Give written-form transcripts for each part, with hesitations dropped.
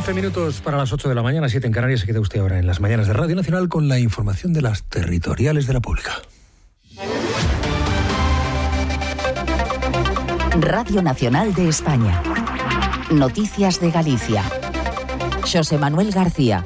11 minutos para las 8 de la mañana, 7 en Canarias. Se queda usted ahora en las mañanas de Radio Nacional con la información de las territoriales de la Pública. Radio Nacional de España. Noticias de Galicia. Xosé Manuel García.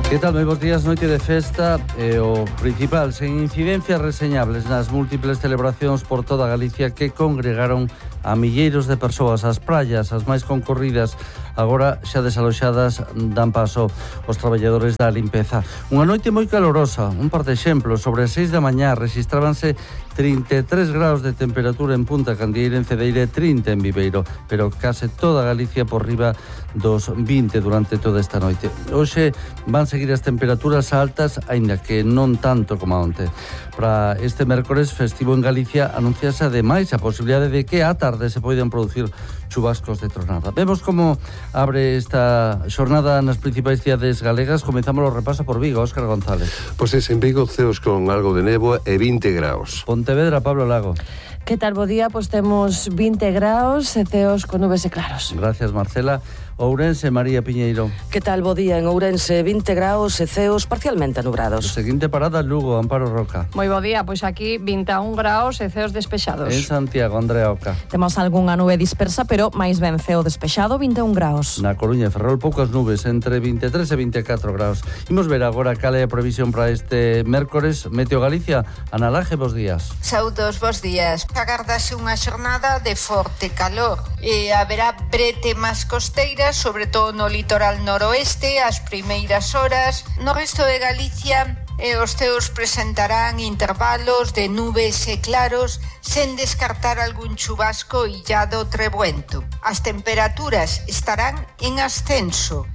Que tal? Moi bons días, noite de festa e o principal, sen incidencias reseñables nas múltiples celebracións por toda Galicia que congregaron a milleiros de persoas. As praias, as máis concorridas, agora xa desaloxadas, dan paso aos traballadores da limpeza. Unha noite moi calorosa, un par de exemplos. Sobre as 6 da mañá rexistrábanse 33 graus de temperatura en Punta Candieira, en Cedeira, 30 en Viveiro, pero case toda Galicia por riba dos 20 durante toda esta noite. Hoxe van seguir as temperaturas altas, aínda que non tanto como onte. Para este mércores festivo en Galicia anunciase ademais a posibilidade de que á tarde se poidan producir chubascos de tronada. Vemos como abre esta xornada nas principais cidades galegas. Comezamos o repaso por Vigo, Óscar González. Pois en Vigo ceos con algo de néboa e 20 graus. Pontevedra, Pablo Lago. Que tal, bo día? Pois temos 20 graus e ceos con nubes e claros. Gracias, Marcela. Ourense, María Piñeiro. Que tal, bo día? En Ourense, 20 graus e ceos parcialmente anubrados. Seguinte parada, Lugo, Amparo Roca. Moi bo día, pois aquí 21 graus e ceos despexados. En Santiago, Andrea Oca. Temos algunha nube dispersa, pero máis ben ceo despexado, 21 graus. Na Coruña, Ferrol, poucas nubes, entre 23 e 24 graus. Imos ver agora cal é a previsión para este mércores. Meteo Galicia, Ana Laje, bos días. Saudos, bos días. Agardase unha xornada de forte calor e haberá brete máis costeira, sobre todo no litoral noroeste, as primeiras horas. No resto de Galicia, os ceos presentarán intervalos de nubes e claros, sen descartar algún chubasco illado trebuento. As temperaturas estarán en ascenso.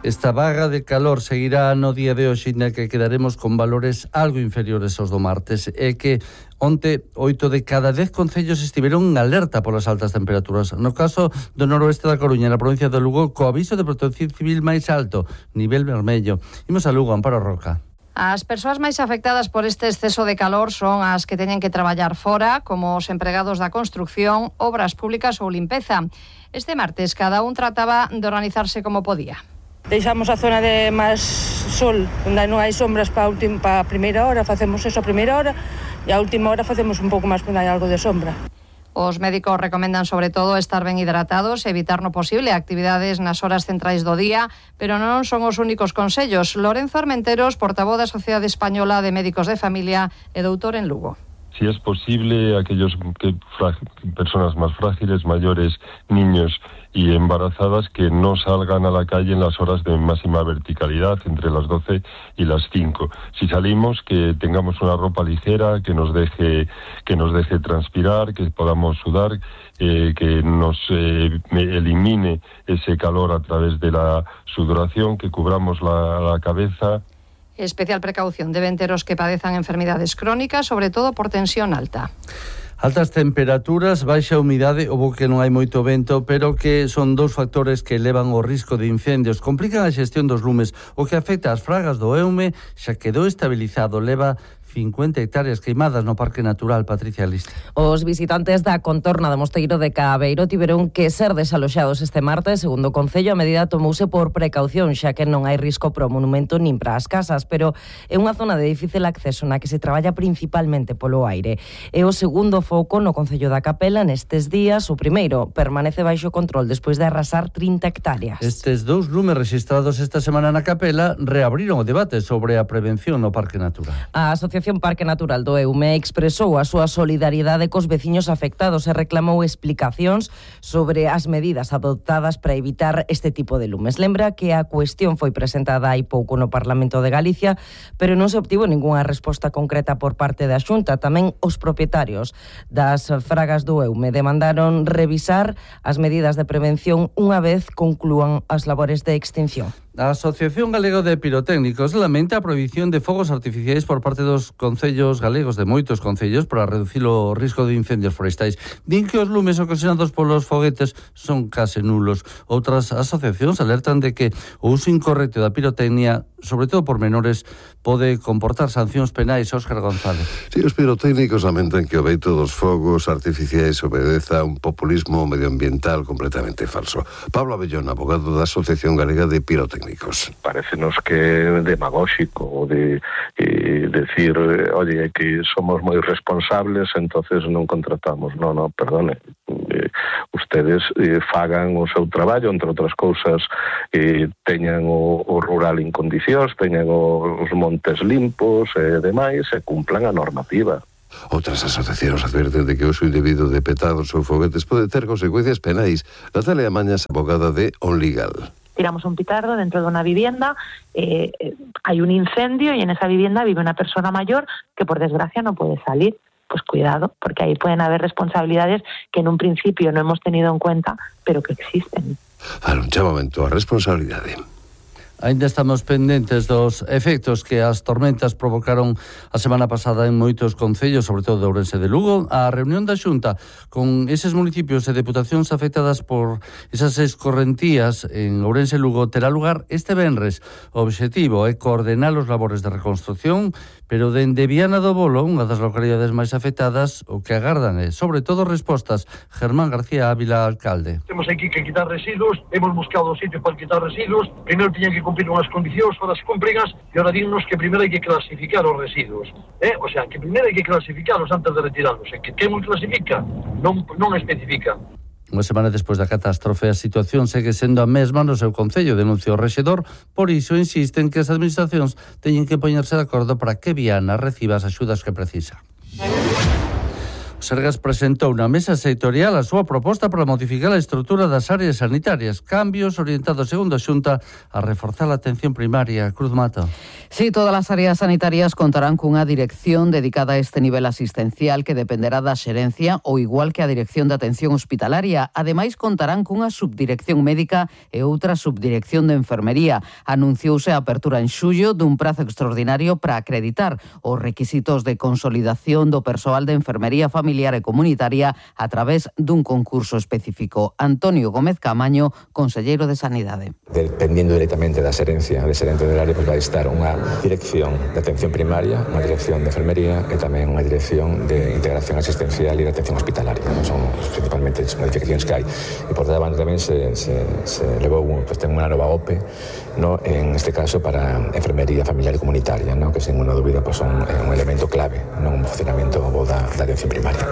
Esta vaga de calor seguirá no día de hoxe, na que quedaremos con valores algo inferiores aos do martes. É que onte 8 de cada 10 concellos estiveron en alerta polas altas temperaturas. No caso do noroeste da Coruña, na provincia de Lugo, co aviso de protección civil máis alto, nivel vermello. Imos a Lugo, Amparo Roca. As persoas máis afectadas por este exceso de calor son as que teñen que traballar fora, como os empregados da construcción, obras públicas ou limpeza. Este martes, cada un trataba de organizarse como podía. Deixamos a zona de máis sol, onde non hai sombras para a primeira hora, facemos eso a primeira hora, e a última hora facemos un pouco máis onde hai algo de sombra. Os médicos recomendan sobre todo estar ben hidratados e evitar no posible actividades nas horas centrais do día, pero non son os únicos consellos. Lorenzo Armenteros, portavoz da Sociedade Española de Médicos de Familia e doutor en Lugo. Si es posible, aquellos personas más frágiles, mayores, niños y embarazadas, que no salgan a la calle en las horas de máxima verticalidad, entre las 12 y las 5. Si salimos, que tengamos una ropa ligera, que nos deje transpirar, que podamos sudar, que nos elimine ese calor a través de la sudoración, que cubramos la cabeza. Especial precaución deben ter os que padezan enfermidades crónicas, sobre todo por tensión alta. Altas temperaturas, baixa humidade, ou que non hai moito vento, pero que son dous factores que elevan o risco de incendios. Complican a xestión dos lumes, o que afecta ás fragas do Eume, xa quedou estabilizado, leva 50 hectáreas queimadas no Parque Natural. Patricia Liste. Os visitantes da contorna do Mosteiro de Cabeiro tiveron que ser desaloxados este martes. Segundo o Concello, a medida tomouse por precaución, xa que non hai risco para o monumento nin para as casas, pero é unha zona de difícil acceso na que se traballa principalmente polo aire. É o segundo foco no Concello da Capela nestes días. O primeiro permanece baixo control despois de arrasar 30 hectáreas. Estes dous lumes registrados esta semana na Capela reabriron o debate sobre a prevención no Parque Natural. A Asociación Parque Natural do Eume expresou a súa solidariedade cos veciños afectados e reclamou explicacións sobre as medidas adoptadas para evitar este tipo de lumes. Lembra que a cuestión foi presentada hai pouco no Parlamento de Galicia, pero non se obtivo ningunha resposta concreta por parte da Xunta. Tamén os propietarios das fragas do Eume demandaron revisar as medidas de prevención unha vez conclúan as labores de extinción. A Asociación Galega de Pirotécnicos lamenta a prohibición de fogos artificiais por parte dos concellos galegos, de moitos concellos, para reducir o risco de incendios forestais. Din que os lumes ocasionados polos foguetes son case nulos. Outras asociacións alertan de que o uso incorrecto da pirotecnia, sobre todo por menores, pode comportar sancións penais. Óscar González. Sí, os pirotécnicos lamentan que o veito dos fogos artificiais obedeza a un populismo medioambiental completamente falso. Pablo Abellón, abogado da Asociación Galega de Pirotécnicos. Parécenos que é demagóxico de decir, oye, que somos moi responsables, entonces non contratamos. No, perdone. Ustedes fagan o seu traballo, entre outras cousas, teñan o rural en condicións, teñan os montes limpos e demais, e cumplan a normativa. Outras asociacións adverten de que o uso indebido de petados ou foguetes pode ter consecuencias penais. Natalia Mañas, abogada de OnLegal. Tiramos un petardo dentro de una vivienda, hay un incendio y en esa vivienda vive una persona mayor que por desgracia no puede salir. Pues cuidado, porque ahí pueden haber responsabilidades que en un principio no hemos tenido en cuenta, pero que existen. Para un chamamento a responsabilidade. Ainda estamos pendentes dos efectos que as tormentas provocaron a semana pasada en moitos concellos, sobre todo de Ourense de Lugo. A reunión da Xunta con eses municipios e deputacións afectadas por esas escorrentías en Ourense e Lugo terá lugar este venres. O obxectivo é coordenar os labores de reconstrucción, pero dende Viana do Bolo, unha das localidades máis afectadas, o que agardan é, sobre todo, respostas. Germán García Ávila, alcalde. Temos aquí que quitar residuos, hemos buscado sitios para quitar residuos, primeiro tiñan que cumplir unhas condicións, para as cúmprigas, e ahora dinnos que primeiro hai que clasificar os residuos. O sea, que primeiro hai que clasificarlos antes de retirarlos. E que quen clasifica non especifica. Unha semana despois da catástrofe, a situación segue sendo a mesma no seu concello, denuncia o rexedor. Por iso insisten que as administracións teñen que poñerse de acordo para que Viana reciba as axudas que precisa. Sergas presentou na mesa sectorial a súa proposta para modificar a estrutura das áreas sanitarias, cambios orientados, segundo a Xunta, a reforzar a atención primaria. Cruz Mato. Sí, todas as áreas sanitarias contarán cunha dirección dedicada a este nivel asistencial que dependerá da xerencia ou igual que a Dirección de Atención Hospitalaria. Ademais, contarán cunha subdirección médica e outra subdirección de enfermería. Anunciouse a apertura en xullo dun prazo extraordinario para acreditar os requisitos de consolidación do persoal de enfermería familiar e comunitaria a través dun concurso específico. Antonio Gómez Camaño, conselleiro de Sanidade. Dependiendo directamente da xerencia, de xerente del área, vai estar unha dirección de atención primaria, unha dirección de enfermería e tamén unha dirección de integración asistencial e de atención hospitalaria. Son principalmente as modificacións que hai. E por debaixo tamén se levou ten unha nova OPE, en este caso para enfermería familiar e comunitaria, que sen unha dúbida son un elemento clave no funcionamento da atención primaria.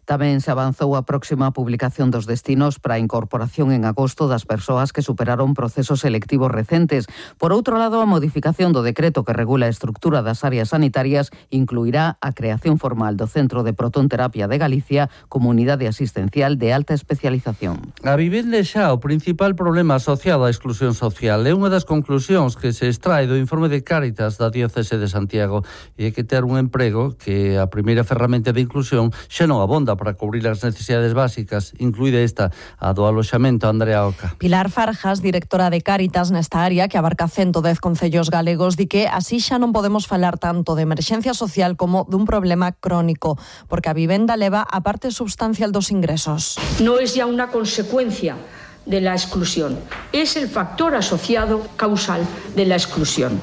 Tamén se avanzou a próxima publicación dos destinos para a incorporación en agosto das persoas que superaron procesos selectivos recentes. Por outro lado, a modificación do decreto que regula a estrutura das áreas sanitarias incluirá a creación formal do Centro de Protonterapia de Galicia como unidade asistencial de alta especialización. A vivenda xa o principal problema asociado á exclusión social é unha das conclusións que se extrae do informe de Cáritas da Diocese de Santiago, e é que ter un emprego que a primeira ferramenta de inclusión xa non abonda para cubrir as necesidades básicas, incluída esta, a do aloxamento. Andrea Oca. Pilar Farjas, directora de Cáritas nesta área, que abarca 110 concellos galegos, di que así xa non podemos falar tanto de emerxencia social como dun problema crónico, porque a vivenda leva a parte substancial dos ingresos. No es ya una consecuencia de la exclusión, es el factor asociado causal de la exclusión.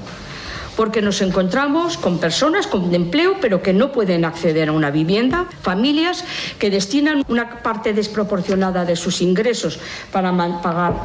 Porque nos encontramos con personas con empleo pero que no pueden acceder a una vivienda, familias que destinan una parte desproporcionada de sus ingresos para pagar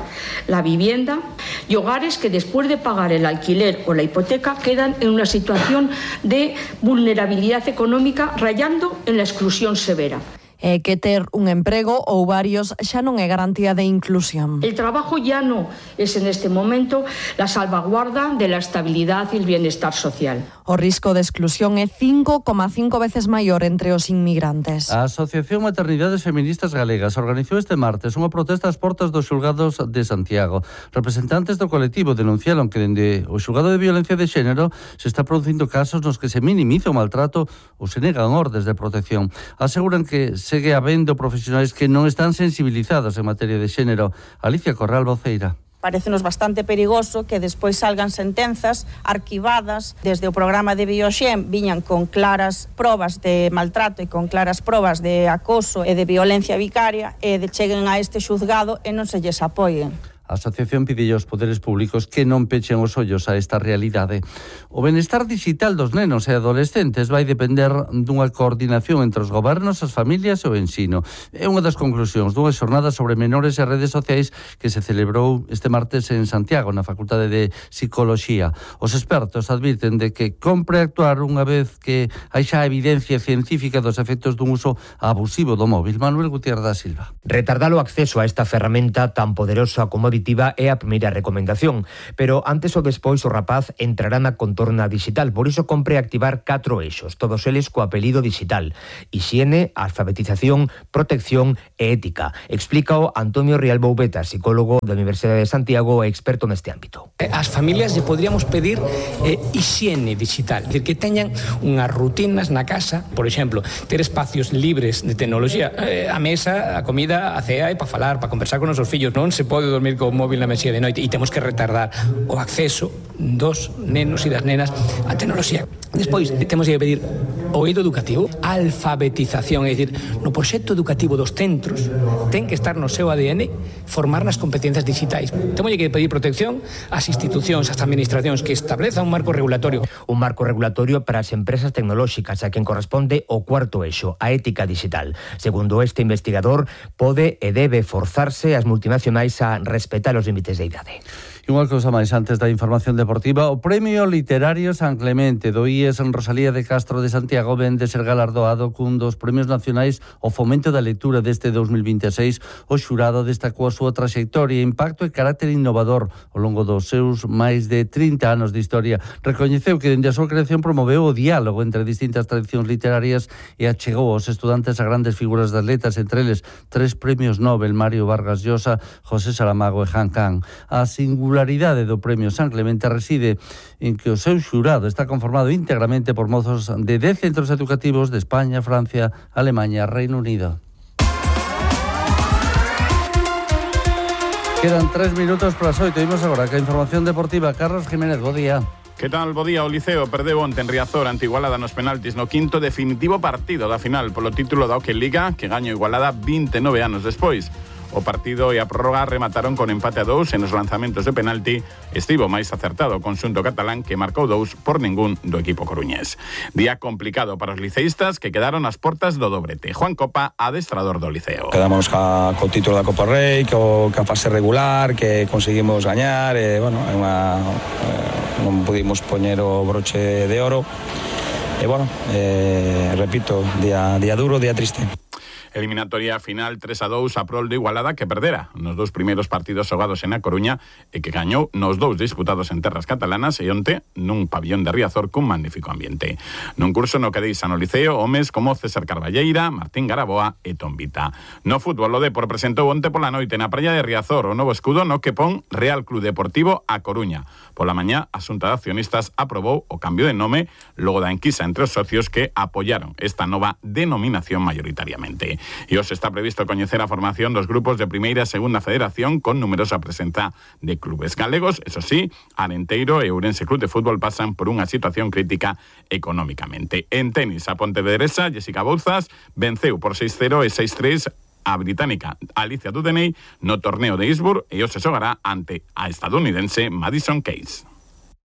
la vivienda y hogares que después de pagar el alquiler o la hipoteca quedan en una situación de vulnerabilidad económica rayando en la exclusión severa. Que ter un emprego ou varios xa non é garantía de inclusión. El trabajo ya no es en este momento la salvaguarda de la estabilidad y el bienestar social. O risco de exclusión é 5,5 veces maior entre os inmigrantes. A Asociación Maternidades Feministas Galegas organizou este martes unha protesta ás portas dos xulgados de Santiago. Representantes do colectivo denunciaron que dende o xulgado de violencia de xénero se está producindo casos nos que se minimiza o maltrato ou se negan ordes de protección. Aseguran que segue habendo profesionais que non están sensibilizados en materia de xénero. Alicia Corral, voceira. Parécenos bastante perigoso que despois salgan sentenzas arquivadas desde o programa de Bioxen, viñan con claras probas de maltrato e con claras probas de acoso e de violencia vicaria e de cheguen a este xuzgado e non se lles apoien. A asociación pide aos poderes públicos que non pechen os ollos a esta realidade. O benestar digital dos nenos e adolescentes vai depender dunha coordinación entre os gobernos, as familias e o ensino. É unha das conclusións dunha xornada sobre menores e redes sociais que se celebrou este martes en Santiago, na Facultade de Psicoloxía. Os expertos advirten de que compre actuar unha vez que hai xa evidencia científica dos efectos dun uso abusivo do móvil. Manuel Gutiérrez da Silva. Retardar o acceso a esta ferramenta tan poderosa como é a primeira recomendación, pero antes ou despois o rapaz entrará na contorna digital, por iso compre activar 4 eixos, todos eles co apelido digital: hixiene, alfabetización, protección e ética. Explícao Antonio Rial Boubeta, psicólogo da Universidade de Santiago e experto neste ámbito. As familias lle podríamos pedir hixiene digital, é dicir, que teñan unhas rutinas na casa, por exemplo, ter espacios libres de tecnoloxía, a mesa, a comida, a cea e para falar, para conversar con os nosos fillos. Non se pode dormir con o móvil na mesía de noite e temos que retardar o acceso dos nenos e das nenas á tecnoloxía. Despois, temos que pedir o eido educativo, a alfabetización, é dicir, no proxecto educativo dos centros ten que estar no seu ADN formar nas competencias digitais. Temos que pedir protección ás institucións, ás administracións que establezan un marco regulatorio. Un marco regulatorio para as empresas tecnolóxicas a quen corresponde o cuarto eixo, a ética digital. Segundo este investigador, pode e debe forzarse as multinacionais a respetar os límites de idade. E unha cousa máis antes da información deportiva, o Premio Literario San Clemente do IES en Rosalía de Castro de Santiago ven de ser galardoado cun dos premios nacionais ao fomento da lectura deste 2026. O xurado destacou a súa traxectoria, impacto e carácter innovador ao longo dos seus máis de 30 anos de historia. Recoñeceu que dende a súa creación promoveu o diálogo entre distintas tradicións literarias e achegou aos estudantes a grandes figuras das letras, entre eles 3 premios Nobel, Mario Vargas Llosa, José Saramago e Han Kang. A singularidade do Premio San Clemente reside en que o seu xurado está conformado íntegramente por mozos de 10 centros educativos de España, Francia, Alemania e Reino Unido. Quedan 3 minutos para as 8. Imos agora que a información deportiva. Carlos Jiménez, bo día. Que tal, bo día? O Liceo perdeu onte en Riazor ante Igualada nos penaltis no quinto definitivo partido da final polo título da Hockey Liga que gaño Igualada 29 anos despois. O partido e a prórroga remataron con empate a 2 en os lanzamentos de penalti. Estivo máis acertado o conxunto catalán que marcou 2 por ningún do equipo coruñés. Día complicado para os liceístas que quedaron ás portas do dobrete. Juan Copa, adestrador do Liceo. Quedamos co título da Copa Rei, ca fase regular, que conseguimos gañar, bueno, non pudimos poñer o broche de oro. E bueno, repito, día duro, día triste. Eliminatoria final 3-2 a prol de Igualada que perdera nos 2 primeiros partidos xogados en A Coruña e que gañou nos 2 disputados en terras catalanas e onte nun pabillón de Riazor cun magnífico ambiente. Nun curso no que deixan o Liceo homes como César Carballeira, Martín Garaboa e Tombita. No fútbol o Depor presentou onte pola noite na praia de Riazor o novo escudo no que pon Real Club Deportivo A Coruña. Pola mañá a Xunta de Accionistas aprobou o cambio de nome logo da enquisa entre os socios que apoyaron esta nova denominación mayoritariamente. E hoxe está previsto coñecer a formación dos grupos de primeira e segunda federación con numerosa presenza de clubes galegos. Eso sí, Arenteiro e Ourense Club de Fútbol pasan por unha situación crítica económicamente. En tenis, a pontevedresa Jessica Bouzas venceu por 6-0 e 6-3 a británica Alicia Dudeney no torneo de Eastbourne e hoxe xogará ante a estadounidense Madison Keys.